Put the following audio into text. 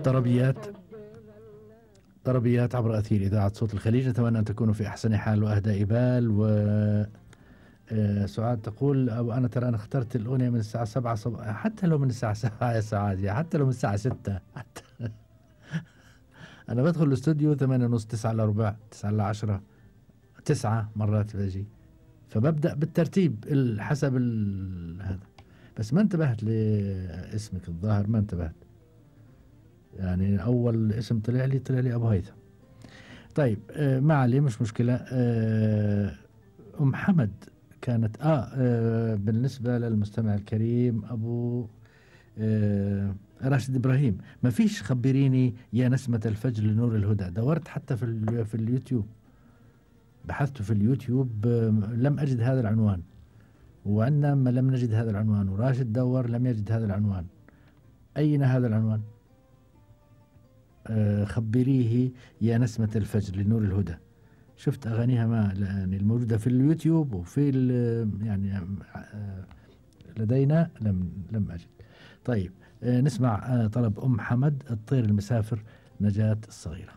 طربيات طربيات عبر أثير إذاعة صوت الخليج. أتمنى أن تكونوا في أحسن حال وأهدى بال. و سعاد تقول أو أنا ترى أنا اخترت الأغنية من الساعة 7 صباحا، حتى لو من الساعة 7 يا سعاد، يا حتى لو من الساعة 6 حتى أنا بدخل الاستوديو 8 ونص 9 إلا ربع 9 إلا 10 9 مرات بجي، فببدأ بالترتيب حسب هذا. بس ما انتبهت لاسمك الظاهر، ما انتبهت يعني أول اسم طلع لي أبو هيثم. طيب ما عليه مش مشكلة. أم حمد كانت بالنسبة للمستمع الكريم أبو راشد إبراهيم، ما فيش خبريني يا نسمة الفجر لنور الهدى. دورت حتى في اليوتيوب، بحثت في اليوتيوب لم أجد هذا العنوان، وعندنا لم نجد هذا العنوان، وراشد دور لم يجد هذا العنوان. أين هذا العنوان؟ خبريه يا نسمة الفجر لنور الهدى. شفت أغانيها ما يعني الموجودة في اليوتيوب وفي يعني لدينا لم أجد. طيب نسمع طلب أم حمد الطير المسافر، نجاة الصغيرة.